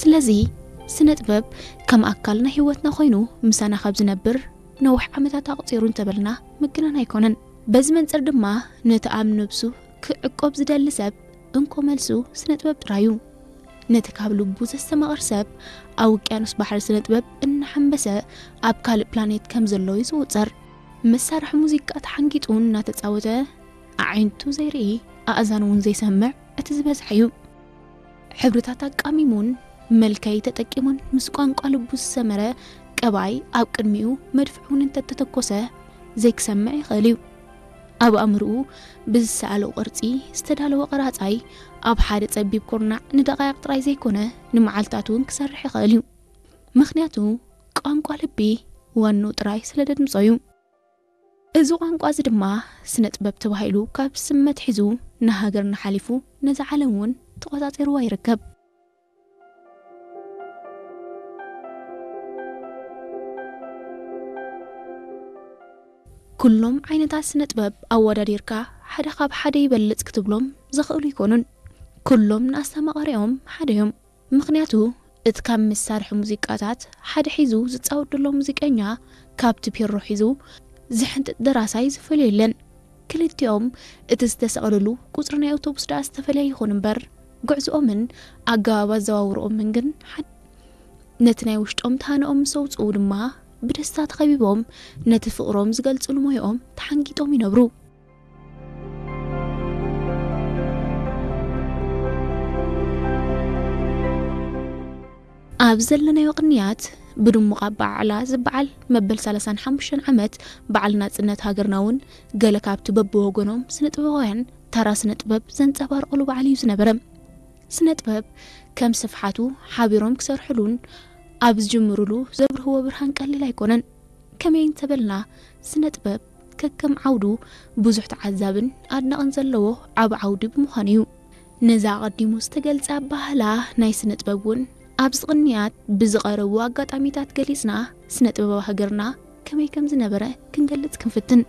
ስለዚ ስነ ጥበብ ከም ኣካል ናይ ህይወትና ኮይኑ ምሳና ካብ ዝነብር ነዊሕ ዓመታት ኣቕጺሩ እንተበልና ምግናን ኣይኮነን። በዚ መንጽር ድማ ነቲ ኣብ ነብሱ ክዕቆብ ዝደሊ ሰብ እንኮ መልሱ ስነ ጥበብ ጥራይ እዩ። ነቲ ካብ ልቡ ዘስተማቕር ሰብ ኣብ ውቅያኖስ ባሕሪ ስነ ጥበብ እናሓንበሰ ኣብ ካልእ ፕላኔት ከም ዘሎ እዩ ዝቑጸር። መሳርሒ ሙዚቃ ተሓንጊጡ እናተጻወተ ኣዒንቱ ዘይርኢ ኣእዛን እውን ዘይሰምዕ እቲ ዝበዝሐ እዩ። ሕብርታት ኣቃሚሙን መልከይ ተጠቂሙን ምስ ቋንቋ ልቡ ዝሰመረ ቀባይ ኣብ ቅድሚኡ መድፍዕ እውን እንተተተኮሰ ዘይክሰምዕ ይኽእል እዩ። ኣብ ኣእምርኡ ብዝሰኣሎ ቅርጺ ዝተዳለወ ቀራጻይ ኣብ ሓደ ጸቢብ ኩርናዕ ንደቓይቕ ጥራይ ዘይኮነ ንመዓልታት እውን ክሰርሕ ይኽእል እዩ። ምኽንያቱ ቋንቋ ልቢ ዋንኡ ጥራይ ስለ ደድምጾ እዩ። እዚ ቋንቋ እዚ ድማ ስነ ጥበብ ተባሂሉ ካብ ስም ኣትሒዙ ንሃገርና ሓሊፉ ነዛ ዓለም እውን ተቖጻጺርዋ ይርከብ። ኩሎም ዓይነታት ስነ ጥበብ ኣወዳዲርካ ሓደ ካብ ሓደ ይበልጽ ክትብሎም ዘኽእሉ ኣይኮኑን። ኩሎም ንኣስተማቓሪኦም ሓደ እዮም። ምኽንያቱ እቲ ካብ መሳርሒ ሙዚቃታት ሓደ ሒዙ ዝጻወት ዘሎ ሙዚቀኛ ካብቲ ፒሮ ሒዙ ዝሕንጥጥ ደራሳይ ዝፈልዮ የለን። ክልቲኦም እቲ ዝተሰቕልሉ ቁጽሪ ናይ ኣውቶቡስ ደኣ ዝተፈልየ ይኹን እምበር፣ ጉዕዝኦምን ኣገባብ ኣዘዋውርኦምን ግን ሓደ። ነቲ ናይ ውሽጦም ተሃንኦም ምስ ኣውጽኡ ድማ ብደስታ ተኸቢቦም ነቲ ፍቕሮም ዝገልጽሉ ሞያኦም ተሓንጊጦም ይነብሩ። ኣብ ዘለናዮ ቅንያት ብድሙቕ ኣበዓዕላ ዝበዓል መበል ሰላሳን ሓሙሽተን ዓመት በዓል ናጽነት ሃገርና እውን ገለ ካብቲ በብወገኖም ስነ ጥበባውያን ታራ ስነ ጥበብ ዘንጸባርቕሉ በዓል እዩ ዝነበረ። ስነ ጥበብ ከም ስፍሓቱ ሓቢሮም ክሰርሕሉን ኣብ ዝጅምሩሉ ዘብርህዎ ብርሃን ቀሊል ኣይኮነን። ከመይ እንተበልና ስነ ጥበብ ከከም ዓውዱ ብዙሕ ተዓዛብን ኣድናቕን ዘለዎ ዓቢ ዓውዲ ብምዃኑ እዩ። ነዛ ኣቐዲሙ ዝተገልጸ ኣበሃህላ ናይ ስነ ጥበብ እውን ኣብዚ ቅንያት ብዝቐረቡ ኣጋጣሚታት ገሊጽና ስነ ጥበብ ሃገርና ከመይ ከም ዝነበረ ክንገልጽ ክንፍትን።